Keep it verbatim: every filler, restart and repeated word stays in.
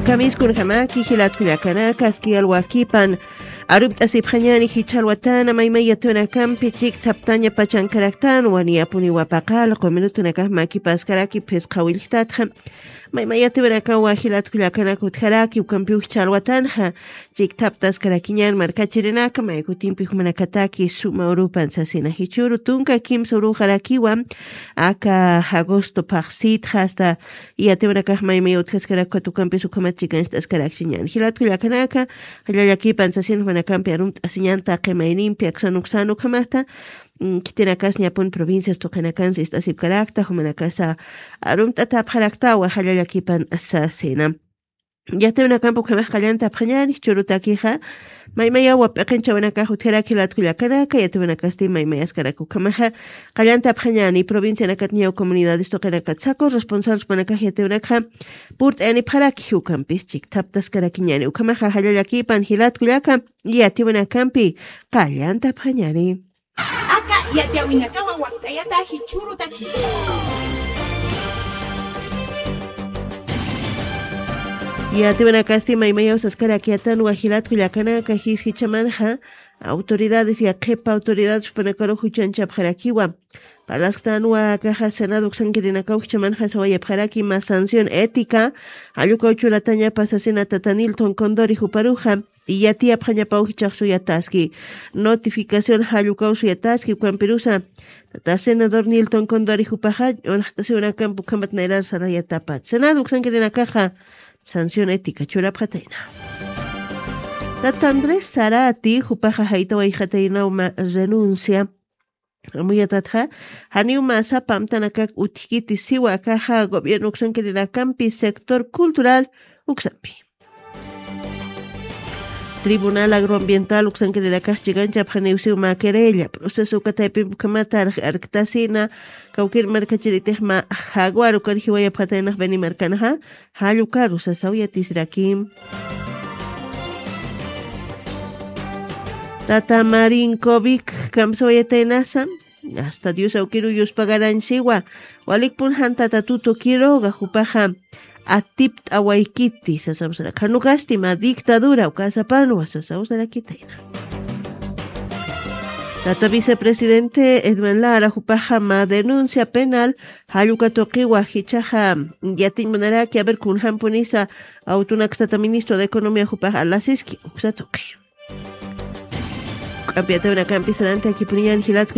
Kamiskunjamaki jilatkullakanaka aski alwakipan arupt'asipxañani jichhalwatana maymay yatiwanakampi chikthaptaña pachankaraktana waniyapuniwa paqal qumirutunakax makipaskaraki phisqa willktatxa maymay yatiwanakawa jilatkullakanaka utjaraki ukampiw jichhalwatanxa chikthaptaskarakiñan markachirinaka maykutimpi jumanakataki suma urupan sasina jichhuru tunka kimsa uruxarakiwa aka agosto phaxsitxa asta yatiwanakax maymay utjaskarak katukampis ukhamat chikancht'askarakchiñan jilatkullakanaka jallallakipan sasin jumanakampi arumt'asiñan taqi maynimpi aksan uksan ukhamata khitinakas ñapun provincias tuqinakansa ist'asipkarakta jumanakasa arumt'atapxaraktawa jallallakipan sasina yatiwinakampi ukhamax qallantapxañani churutakixa maymayawa p'iqinchawanakax utjarak jilatkullakanaka yatiwinakasti maymayaskarak ukhamaxa qallantapxañani provincianakat ñaw comunidades tuqinakat saku responsables panakax yatiwinakxa purt'ayanipxaraki jiwkampis chikthaptaskarakiñani ukhamaxa jallallakipan jilatkullaka yatiwinakampi qallantapxañani. Aka yatiwinakawa wakt'ayata jichhurutaki. Yatiwinakasti maymayaw saskarakyatan wajilatkullakanaka jisjichamanxa autoridades yaqhipa autoridades jupanakaru juchanchapxarakiwa. Parlasktanwa akaxa senado uksankirinakaw jichamanxa sawayapxaraki mas sanción ética jallukaw churatañapa sasina tata Nilton Condori juparuxa yatiyapxañapaw jichhax suyataski notificación jallukaw suyataski ukampirusa tata senador Nilton Condori jupaxa unaxt'asiwinakampi ukhamat nayrar sarayatapat senado uksankirinakaxa sanción ética churapxatayna. Tata Andrés Sarati jupaxa jaytawayxataynawma renuncia amuyatatxa janiw masa pamtanakak utjkiti siwa akaxa gobierno uksankirinakampi sector cultural uksampi. Tribunal agroambiental uksankirinakax chikanchapxaniw siw mä querella proceso ukataypimpi ukhamat arktasina kawkir markachiritix mä jaguar ukar jiwayapxataynax beni markanaxa jallukaru sasaw yatisrakim. Tata marinkovic kamsawayataynasa asta dios awkiru yuspagarañsiwa walikpun jan tata tuto quiroga jupaxa atipt'awaykiti sasawsaraka janukasti mä dictadura ukasapanwa sasawsarakitayna. Tata vicepresidente edman lara jupaxa mä denuncia penal jalluka tuqiwa jichhaxa yatiñ munaraki aver kunjampunisa awtunaksa tata ministro de economía jupaxa alasiski uksa tuqi. K'ampi atawinakampis ranti akipuniñan jilatku.